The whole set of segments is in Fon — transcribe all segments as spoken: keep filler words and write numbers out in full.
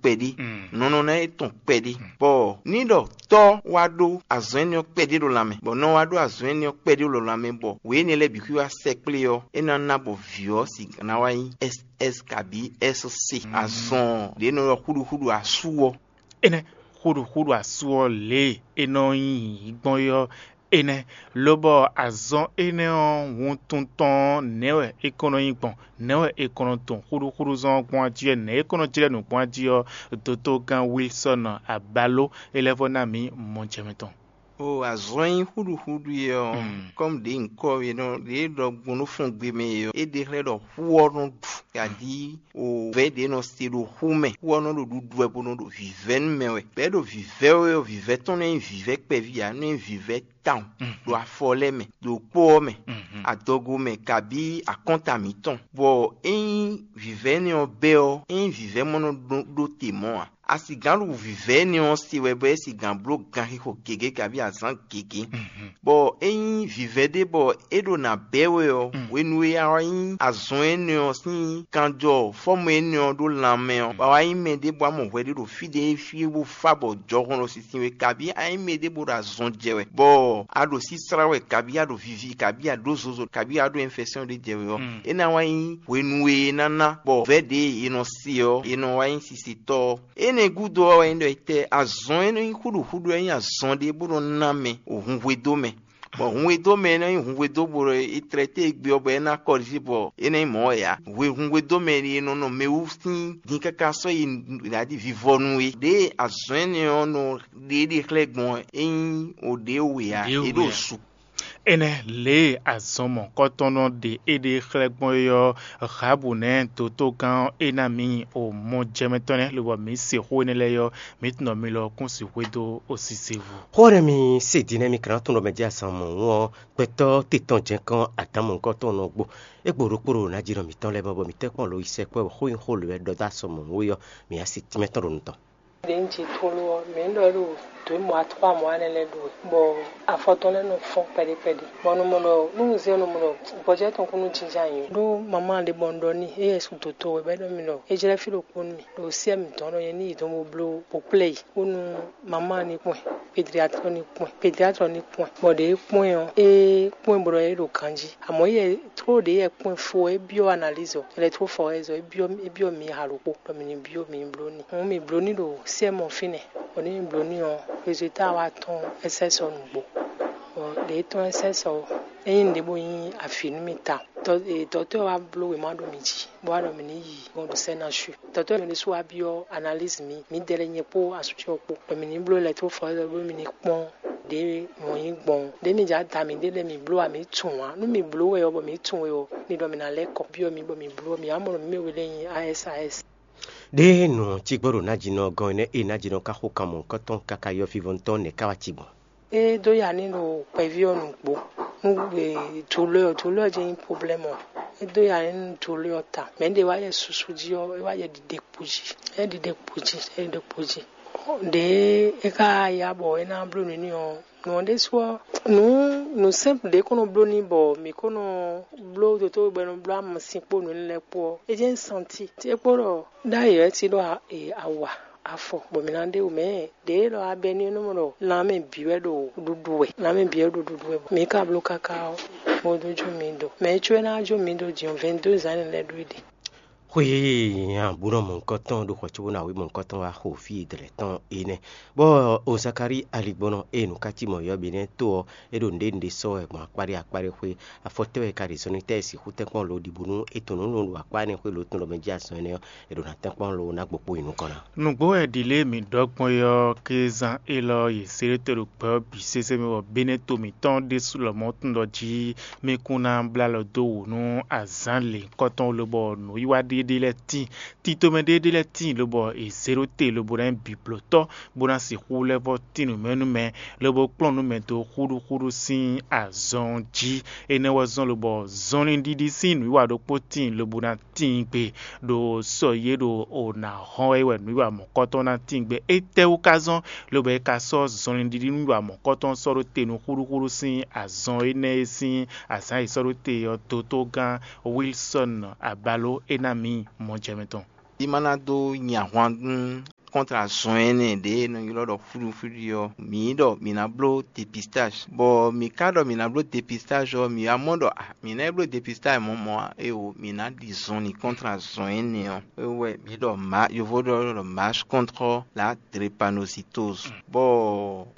kpɛɖé, nɔnɔná e tɔn kpɛɖé. Bɔ ní ɖɔ tɔ́ wá ɖó azɔn énɛ́ ɔ́ kpɛɖé ɖo lanmɛ, bɔ nɔ wá ɖó azɔn énɛ́ ɔ́ kpɛɖé ɖo lanmɛ, bɔ wě énɛ́ lɛ́ɛ bǐ xwí wá sɛkplé ɔ́, é ná ná bɔ vǐ ɔ́ sixú ná wá nyí S S kabǐ S C. Azɔn ɖě nɔ ylɔ́ xúɖuxúɖu asú ɔ́. Énɛ́ xúɖuxúɖu asú ɔ́ lě e é nɔ nyí gbɔn é ɔ́, énɛ́, lobɔ azɔn énɛ́ ɔ́ wuntun tɔn ɔ́, nɛ̌ wɛ é kɔn nɔ nyí gbɔn? Nɛ̌ wɛ è kɔn nɔ dɔn xúɖúxúɖúzɔn ɔ́ gbɔn jí wɛ? Nɛ̌ é kɔn nɔ jlɛ́ nǔ gbɔn jí ɔ́, dotogán Wilsɔ́n Abaló é lɛ́ vɔ́ ná mǐ mɔjɛmɛ tɔn. O azɔn e nyí xúɖuxúɖu é ɔ́, kɔ́mu ɖě nyǐkɔ e nɔ ɖě ɖɔ gbɔn nú fɔngbe mɛ é ɔ́, é ɖe xlɛ́ ɖɔ xú ɔ́ nɔ ɖu, kaɖí o vɛ̌ ɖě nɔ se ɖo xú mɛ, xú ɔ́ nɔ ɖo ɖuɖu wɛ bó nɔ ɖo vǐvɛ́ nú mɛ wɛ. Bɛ̌ ɖo vǐvɛ́ wɛ ɔ́, vǐvɛ́ tɔn nɔ nyí vǐvɛ́ kpɛví ǎ, nɔ nyí vǐvɛ́ tawun ɖo afɔ lɛ́ɛ mɛ, ɖo kpó ɔ́ mɛ, adɔgo mɛ, kabí akɔ́nta mǐtɔn. Bɔ ényí vǐvɛ́ énɛ́ ɔ́ bɛ́ ɔ́, ényí vǐvɛ́ mɔ nɔ ɖó te mɔ̌ ǎ. A sixú ɖo vǐvɛ́ énɛ́ ɔ́ se wɛ bɔ é sixú bló ganxixo gěgé kabí azǎn gěgé. Bɔ ényí vǐvɛ́ ɖé bɔ é ɖo nǎ bɛ́ wɛ ɔ́, hwenu e a wá nyí azɔn énɛ́ ɔ́ sín kanjɔ fɔ́mɔ énɛ́ ɔ́ ɖó lanmɛ ɔ́, bɔ a wá nyí mɛ ɖé bɔ a mɔ hwɛ ɖé ɖo fí ɖé fí bó fá bɔ jɔhɔn ɖo sinsin we, kabí a nyí mɛ ɖé bó ɖo azɔn jɛ wɛ, bɔ a ɖo síslá wɛ, kabí a ɖo vivi, kabí a ɖó zozo, kabí a ɖó infɛsɛ́n ɖé jɛ wɛ ɔ́, é ná wá nyí hwenu e é ná ná bɔ vɛ̌ ɖě e è nɔ se ɔ́, è nɔ wá nyí sisetɔ́ ɔ́. Énɛ́ gúdo ɔ́ wɛ nyí ɖɔ etɛ́ azɔn e nɔ nyí xúɖuxúɖu ɔ́ nyí azɔn ɖé bó nɔ ná mɛ hunhwedó mɛ, bɔ hunhwedó mɛ e nɔ nyí hunhwedó bó ɖɔ è tlɛ té e gbe ɔ́ bɔ é ná kɔlísí bɔ é ná nyí mɔ̌ wɛ ǎ. Hwe hunhwedó mɛ e nɔ nɔ mɛ wú sín din káká sɔ́ yi nǔɖaɖi vivɔnu é. Ɖěe azɔn énɛ́ ɔ́ nɔ ɖe é ɖe xlɛ́ gbɔn ɔ́, é nyí o ɖě we ǎ, é ɖo su. Énɛ́ lě e azɔn mɔ̌kɔtɔn nɔ ɖe éɖée xlɛ́ gbɔn é ɔ́, Hlabu nɛ́ dotogán ɔ́ é ná mǐ o mɔjɛmɛtɔ́ nɛ́, lobɔ mǐ se xó énɛ́ lɛ́ɛ ɔ́, mǐ tunwun ɖɔ mi lɔ kún sixú xwedó osise vo. Xó ɔ́ nɛ́ mi se din nɛ́ mi ka ná tunwun ɖɔ mɛ jɛ azɔn mɔ̌hun ɔ́, gbɛtɔ́ titɔn jɛ́nkɔ́n Adǎmu nukɔntɔn nɔ gbo. É gbo ɖokpó ɖo ná jí nɔ mǐtɔn lɛ́ɛ mɛ bɔ mǐ tɛ́ kpɔ́n lo yi sɛkpɔ́ xó nyi xó lě wɛ ɖɔ dó asɔ mɔ̌hun é ɔ́, mǐ á se tínmɛ tɔn ɖo nu tɔn. Ɖě un ji tlóló ɔ́, mǐ ɖɔ é ɖo dǒ mɔ atɔ́ amɔ̌ wa nɛ́ lɛ́ɛ ɖu wɛ, bɔ afɔ tɔn lɛ́ɛ nɔ fɔ́n kpɛɖé kpɛɖé. Bɔ un nɔ mɔ ɖɔ nú un zé ɔ́, un nɔ mɔ ɖɔ gbɔjɛ́ tɔn kún nɔ jínjɔ́n ayǐ. Ɖó mamá ɖé bɔ un ɖɔ n'i, éyɛ́ su dǒtó wɛ, bɔ é ɖɔ mì ɖɔ é jlɛ́ fí ɖokpó nú mì, ɖo syɛ́ mǐtɔn ɖɔ nyɛ ní yi dɔn bó bló bó kplé yi, bónú mamá ní kpɔ́n ɛ, pédriatlɔ ní kpɔ́n ɛ, pédriatlɔ ní kpɔ́n ɛ, bɔ ɖě é kpɔ́n ɛ ɔ́, é kpɔ́n ɛ bó ɖɔ é ɖo ganjí. Amɔ̌ yɛ tló ɖě yɛ kpɔ́n ɛ fó ɔ́, é byɔ́ analyse ɔ́, ɛlɛtrófɔ́ ɔ́, é byɔ́ mǐ ha ɖokpó, ɖɔ mǐ ní byɔ́ mǐ ní bló n'i. Hǔn mǐ bló n'i ɖo C M ɔ́ fínɛ́, bɔ nú mǐ bló n'i ɔ́, résultat wá tɔ́n S S ɔ́ nǔgbó. Bɔ ɖě tɔ́n S S ɔ́, é nyí nǔɖé bó nyí avǐ nú mì tawun. Dɔ̌tɔ́ ɔ́ wá bló wěma ɖo mǐ jí, bó wá ɖɔ mǐ ní yi gbɔn ɖo sɛ́ ná su. Dɔ̌tɔ́ ɔ́ ɖésú wá byɔ́ analyse mǐ, mǐdɛɛ lɛ́ɛ nyɛ kpó asú ce ɔ́ kpó, bɔ mǐ ní bló ɛlɛtrófɔ́ ɔ́ bónú mǐ ní kpɔ́n ɖě mɔ̌ nyí gbɔn. Ɖě mǐ jɛ ada mǐ ɖe lɛ́ɛ mǐ bló ǎ, mǐ tunwun ǎ. Nú mǐ bló wɛ ɔ́, bɔ mǐ tunwun we ɔ́, mi ɖɔ mǐ ná lɛ́ kɔ byɔ́ mǐ bɔ mǐ bló, mǐ wá mɔ ɖɔ mǐ mɛ we lɛ́ɛ nyí A S A S. Ɖěe nǔ ɔ́ cí gbɔ ɖo nájínɔ gɔ́n énɛ́ e nájínɔ ka xo kan mɔ̌hunkɔtɔn káká yɔ́fívɔ́ntɔ́ nɛ̌ ká wá cí gbɔn? É dó ya ní ɖo kpɛví ɔ́ nǔgbó. Nú douleur ɔ́, douleur ɔ́ jɛ́n nyí problème ɔ́. É dó ya ní nú douleur ɔ́ ta. Mɛ̌ ɖě wá yɛ susu jí ɔ́, é wá yɛ ɖiɖekpo jí. É ɖiɖekpo jí, é ɖiɖekpo jí. Ɖě é ka ya bɔ é ná bló nǔ n'i ɔ́, nǔ ɔ́ ɖésú ɔ́, nǔ nǔ simple ɖě kó nɔ bló n'i bɔ mǐ kó nɔ bló dotó bɔ é nɔ bló amasin kpó nǔ énɛ́ lɛ́ɛ kpó ɔ́, é jɛ́n santi. É kpó ɖɔ ɖ'ayǐ wɛ é cí ɖó awa afɔ, bɔ mǐ ná ɖe wǔ mɛ ɖě lɔ abɛ ní nɔ mɔ ɖɔ lan mɛ bǐ wɛ ɖo ɖuɖu wɛ, lan mɛ bǐ wɛ ɖo ɖuɖu wɛ, bɔ mǐ ka bló káká ɔ́, bó dó jó mǐ do. Mɛ e có é ná jó mǐ do din ɔ́, vingt-deux ans lɛ́ɛ ɖó é ɖe. Xwe nya búnɔ mɔ̌hunkɔtɔn ɖo xɔ cóbó ná wí mɔ̌hunkɔtɔn wá xo fí e dlɛ̌ tɔn é nɛ́. Bɔ o Zakalíi aligbɔnɔ e nǔ ká cí mɔ̌ yɔ́ ɔ́ bǐ nɛ́ tó ɔ́, é ɖo nǔɖé nǔɖé sɔ́ wɛ gbɔn akpáɖé akpáɖé xwé. Afɔ tɛ́ wɛ è ka ɖe zɔnlin tɛ́ e sixú tɛ́n kpɔ́n lo ɖi bónú è tunwun nǔ ɖo akpá énɛ́ xwé lǒ tɔn lɔ mɛ jí azɔn énɛ́ ɔ́, è ɖo ná tɛ́n kpɔ́n lo ná gbo kpó yi nukɔn ná. Nǔgbó wɛ ɖi lě e mǐ ɖɔ gbɔn é ɔ́, kézán élɔ́ ɔ́, yě se ɖé te ɖo gbɛ ɔ́ bǐ sésé mɛ, bɔ Benɛ́to mǐtɔn ɖésú lɔmɔ̌ tunwun ɖɔ jí mì kún ná blá alɔ dó wǔ nú azǎn lěhunkɔtɔn lobɔ nǔwiwa ɖé ɖé lɛ́ɛ tíin. Tito mɛ ɖé ɖé lɛ́ɛ tíin lobɔ è zě ɖó te lobo ná nyí biblǒtɔ́, bó ná sixú lɛ́ vɔ́ tín nǔ mɛ nú mɛ, lobo kplɔ́n nǔ mɛ dó xúɖúxúɖú sín azɔn jí. Énɛ́ wɛ zɔ́n lobɔ zɔnlin ɖiɖi sín nǔwiwa ɖokpó tíin lobo ná tíin gbe ɖo sɔ yě ɖo o nǎ hɔn wɛ é wɛ nǔwiwa mɔ̌kɔtɔn ná tíin gbe. Étɛ́wú ka zɔ́n lobo é ka sɔ́ zɔnlin ɖiɖi nǔwiwa mɔ̌kɔtɔn sɔ́ ɖó te nú xúɖúxúɖú sín azɔn énɛ́ e sín azǎn e è sɔ́ ɖó te ɔ́ dotó gán Wilsɔ́n Abaló é ná mǐ mɔjɛmɛ tɔn? é má ná dó nyi ahwan nú kɔntra zɔn énɛ́ ɖě e nɔ ylɔ́ ɖɔ xúɖuxúɖu ɔ́, mǐ ɖɔ mǐ ná bló depistage. Bɔ mǐ ka ɖɔ mǐ ná bló depistage ɔ́, mǐ wá mɔ ɖɔ ah, mǐ ná yi bló depistage mɔ̌ mɔ̌ ǎ, éwo mǐ ná ɖi zɔnlin kɔntra zɔn énɛ́ ɔ́. É wɛ mǐ ɖɔ ma yovo ɖɔ ɖɔ marche contre la drépanocytose. Bɔ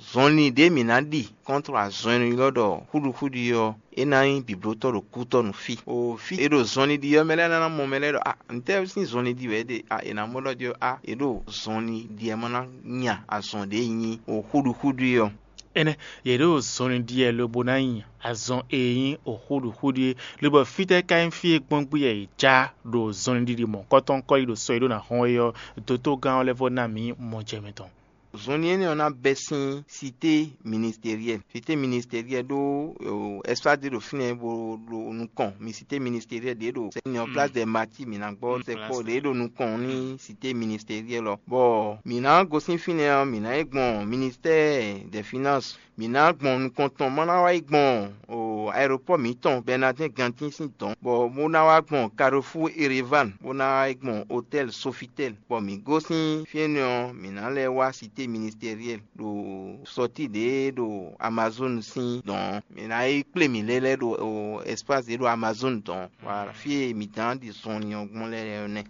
zɔnlin ɖě mǐ ná ɖi kɔntra zɔn e nɔ ylɔ́ ɖɔ xúɖuxúɖu ɔ́, é ná nyí bǐblótɔ́ ɖo kútɔ́ nú fí. O fí e ɖo zɔnlin ɖi ɔ́, mɛ lɛ́ɛ ná ná mɔ mɛ lɛ́ɛ ɖɔ ah, ntɛ́ sín zɔnlin ɖi wɛ é ɖe? Ah, è nǎ mɔ ɖɔ ɖi ɔ́, ah, è ɖo zɔnlin ɖi ɛ má ná nya azɔn ɖě e nyí o xúɖuxúɖu é ɔ́. Énɛ́, yě ɖo zɔnlin ɖi ɛ lobo ná nyi azɔn e nyí o xúɖuxúɖu é, lobɔ fítɛ́ ka nyí fí e gbɔn gbé yɛ yě já ɖo zɔnlin ɖiɖi mɔ̌kɔ́tɔn kɔ́ yi ɖo sɔ e ɖó ná hɔn é ɔ́, dotogán ɔ́ lɛ́ vɔ́ ná mǐ mɔjɛmɛ tɔn. Zɔnlin énɛ́ ɔ́ ná bɛ́ sín sité ministériɛl. Sité ministériɛl ɖó ɛsipási ɖé ɖo fínɛ́ bó ɖo nukɔn mi sité ministériɛl ɖě ɖo sɛ́nyɔ plas dɛ mati mǐ ná gbɔ sɛkpɔ ɖě ɖo nukɔn ní sité ministériɛl ɔ́. Bɔ mǐ ná gosín fínɛ́ ɔ́, mǐ ná yi gbɔn ministɛ́ɛ dɛ finans. Mǐ ná gbɔn nukɔn tɔn má ná wá yi gbɔn o aeropɔ́ mǐtɔn Bɛnadɛ́n Gantín sín dɔ̌n, bɔ bó ná wá gbɔn Karofú Ereván, bó ná wá yi gbɔn otɛ́l Sofitɛ́l, bɔ mǐ gosín fí énɛ́ ɔ́, mǐ ná lɛ́ wá sité ministériɛl ɖo sɔtí ɖě ɖo Amazon sín dɔ̌n ɔ́. Mǐ ná yi kplé mǐ lɛ́ lɛ́ ɖo ɛsipási ɖě ɖo Amazon dɔ̌n. Voilà, fí e mǐ dán ɖi zɔnlin ɔ́ gbɔn lɛ́ɛ ɔ́ nɛ́.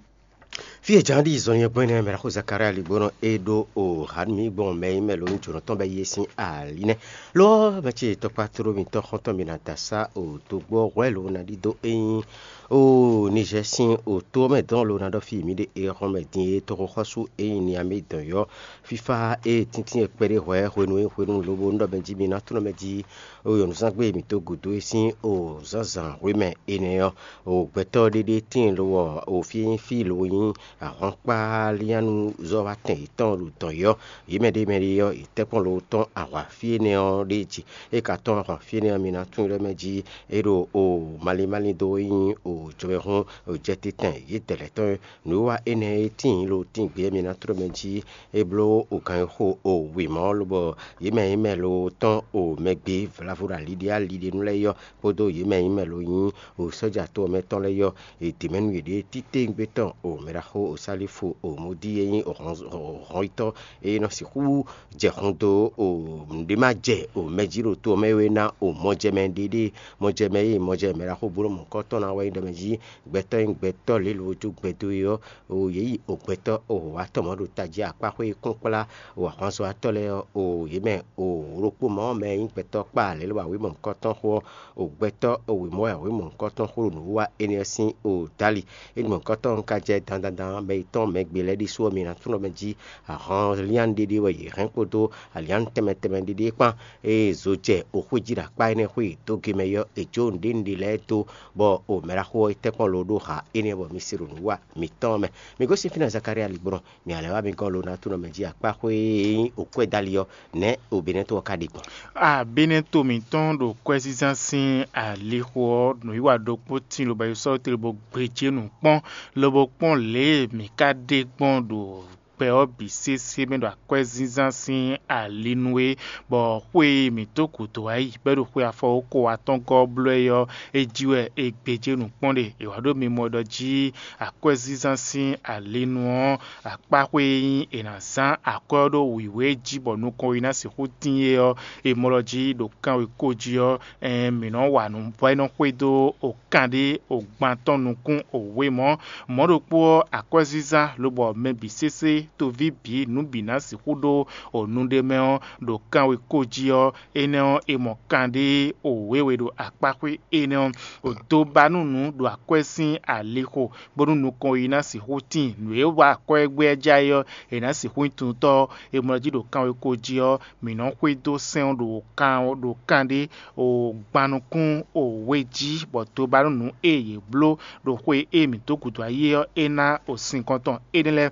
Fí e jǎn ɖi zɔnlin ɔ́ gbɔn énɛ́ mɛ ɖaxó Zakalía ligbónɔ e ɖó o hǎnmí gbɔn mɛ e nyí mɛ lǒ jǒnɔ tɔn bɛ́ yí é sín ali nɛ́. Lo ɔ́, mɛ ce tɔkpá tló mitɔn xɔ́ntɔn mi ná da sá o togbó ɔ́ hwɛ̌ lo ná ɖidó é nyí o Nizɛ́ɛ sín o tó ɔ́ mɛ dɔn lo ná ɖɔ fí mǐ ɖe e hɔn mɛ din e toxoxɔ́sú e nyí Niamé dɔn yɔ́. Fífá e tíntín e kpɛɖé hwɛ̌ hwenu e hwenu lobo un ɖɔ mɛ jí mi ná tlɔ́n mɛ jí o nyɔ̌nuzángbe mǐtɔn gǔdo e sín o zǎnzǎn hwemɛ énɛ́ ɔ́, o gbɛtɔ́ ɖéɖé tíin lo ɔ́, o fí e nyí fí lo nyí ahwankpáliánnuzɔ́watɛn yětɔn ɖo dɔ̌n yɔ́. Yě mɛ ɖé mɛ ɖé ɔ́, yě tɛ́nkpɔ́n lo tɔ́n ahwa fí énɛ́ ɔ́ ɖé jí. É ka tɔ́n ahwan fí énɛ́ ɔ́, mi ná tunwun ɖɔ mɛ jí é ɖo o malín málín dó e nyí o jɔmɛhún o jɛtɛ́tɛn yědɛɛ lɛ́ɛ tɔn. Nǔwiwa énɛ́ e tíin lo tíin gbé ɔ́, mi ná tló mɛ jí é bló o ganxixo o wěma ɔ́, lobɔ yě mɛ e nyí mɛ lo tɔn o mɛ gbé vlavo ɖo ali ɖé ali ɖé nu lɛ́ɛ yɔ́, kpódó yě mɛ e nyí mɛ lo nyí o sɔ́ja to ɔ́ mɛ tɔn lɛ́ɛ yɔ́, è dě mɛ nú yěɖée titewungbe tɔn o mɛ ɖaxó o Salífu o Modí e nyí hɔnyitɔ́ e nɔ sixú jɛ hun dó o nǔɖé ma jɛ o mɛ jí ɖo to ɔ́ mɛ é ná o mɔjɛmɛ ɖéɖée. Mɔjɛmɛ e mɔjɛmɛ mɛ ɖaxó bló mɔ̌kɔ́ tɔn ná wɛ nyí ɖɔ mɛ jí gbɛtɔ́ e nyí gbɛtɔ́ lě lo jó gbɛdó é ɔ́, o yě yi o gbɛtɔ́ o wǎtɔ́ mɔ̌ ɖo tají akpáxwé kplɔ́nkplá o ahwanzɔ́watɔ́ lɛ́ɛ ɔ́, o yě mɛ o ɖokpó mɔ̌ mɛ e nyí gbɛtɔ́ kpá lě lo awǐ mɔ̌kɔ́ tɔn xó ɔ́, o gbɛtɔ́ o wěmɔ́ wɛ awǐ mɔ̌kɔ́ tɔn xó ɖo nǔwiwa énɛ́ ɔ́ sín o dali. É ɖi mɔ̌kɔ́ tɔn ka jɛ dandandan mɛ yětɔn mɛ gbe lɛ́ɛ ɖésú ɔ́, mi ná tunwun ɖɔ mɛ jí ahɔn lián ɖéɖé wɛ yě hɛn kpódó alián tɛnmɛ tɛnmɛ ɖéɖé kpán. Ée zo jɛ oxwé jí ɖo akpá énɛ́ xwé dó ge mɛ ɔ́, è jó nǔɖé nǔɖé lɛ́ɛ dó, bɔ o mɛ ɖaxó ɔ́ yi tɛ́nkpɔ́n lo ɖó ha énɛ́ bɔ mi se ɖo nǔ wa mǐtɔn mɛ. Mi gosín fínɛ́ Zakalía ligbɔnɔ, mi alɛ wá mi gɔ́ lo ná tunɔ mɛ jí akpá xwé e nyí okwɛ́ dali ɔ́, nɛ̌ o Benɛ́to ɔ́ ka ɖe gbɔn? A Benɛ́to mǐtɔn ɖo kwɛ́zínzán sín alixo ɔ́, nǔwiwa ɖokpó tíin lobo yi sɔ́ tlé bó gbejě nǔ kpɔ́n, lobo kpɔ́n lě e mǐ ka ɖe gbɔn ɖo gbɛ ɔ́ bǐ sésé mɛ ɖo akwɛ́zínzán sín ali nu é, bɔ xwe e mǐ dó gǔdo wá yi bɔ é ɖo xwe afɔwókɔ atɔ́ɔ́ngɔ́ ɔ́ bló ɛ ɔ́, é jí wɛ è gbějé nǔ kpɔ́n ɖe. È wǎ ɖo mimɔ ɖɔ jí akwɛ́zínzán sín ali nu ɔ́, akpáxwé e nyí è nǎ zán akwɛ́ ɔ́ ɖó wǐwé jí bɔ nukɔn ɔ́ yi ná sixú tíin é ɔ́, è mɔ ɖɔ jí ɖo kanwekó jí ɔ́, ɛɛn mǐ nɔ wa nǔ bɔ é nɔ xwedó o kanɖé o gban tɔn nukún o wé mɔ̌. Mɔ̌ ɖokpó ɔ́, akwɛ́zínzán lobɔ mɛ bǐ sésé, toví bǐ, nǔ bǐ ná sixú ɖó o nu ɖé mɛ ɔ́, ɖo kanwekó jí ɔ́, énɛ́ ɔ́, è mɔ kanɖé o wěwe ɖo akpáxwé énɛ́ ɔ́, o dó ba nú nǔ ɖo akwɛ́ sín alixo, bónú nukɔn yi ná sixú tíin. Nǔ e wa akwɛ́ gbé ɔ́ já é ɔ́, è nǎ sixú nyí tunwunritɔ́ ɔ́, è mɔ jí ɖo kanwekó jí ɔ́, mǐ nɔ xwedó sɛ́n ɔ́ ɖo kan ɖo kanɖé o gban nukún o we jí, bɔ tobanúnu e yě bló ɖo xwe e mǐ dó gǔdo ayé ɔ́, é ná o sinkɔn tɔn énɛ́ lɛ́ɛ.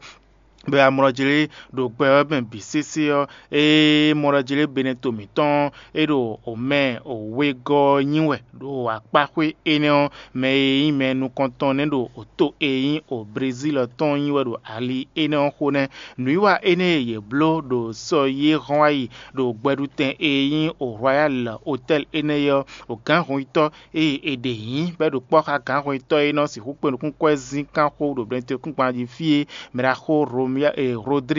bɔ amlɔjlé ɖo gbɛ ɔ́ mɛ bǐ sésé ɔ́, ée mɔɖɔjlé Beneto mǐtɔn ɔ́, é ɖo omɛ wegɔ́ ɔ́ nyi wɛ ɖo akpáxwé énɛ́ ɔ́ mɛ e nyí mɛ nukɔntɔn nɛ́ ɖo to e nyí o Brezíl ɔ́ tɔn nyi wɛ ɖo ali énɛ́ ɔ́ xo nɛ́. Nǔwiwa énɛ́ e yě bló ɖo sɔ yi e hɔn wá yi ɖo gbɛɖutɛn e nyí o Royal Hotel énɛ́ ɔ́, o gǎnhɔnyitɔ́ ée è ɖe nyǐ bɔ é ɖo kpɔ́ xá gǎnhɔnyitɔ́ e nɔ sixú kpe nukúnkwɛ́zín kán xó ɖo Beneto kúngban jí fí é, mɛɖaxó Rodrigue